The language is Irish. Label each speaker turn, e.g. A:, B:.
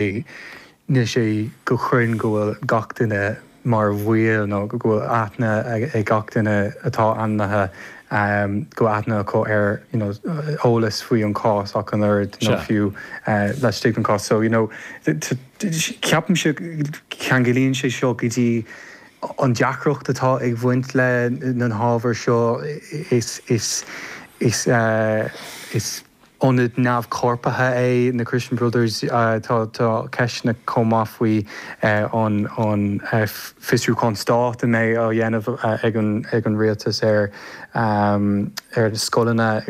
A: Níl sé go cruinn go bhfuil gach duine mar bhaill nó go bhfuil aithne ag gach duine atá ainmnithe go bhfuil aithne acu ar you know eolas faoi an cás ach an oiread nó fiú laistigh den chás. So you know ceapaimse ceanglaíonn sé seo go dtí an deacracht atá ag bhaint le na hábhair seo is is is is Ionad neamhchorpraithe é na Christian Brothers. Tá ceisteanna chomh maith faoi an fiosrúchán stáit a mbeidh á dhéanamh ag an rialtas ar na scoileanna.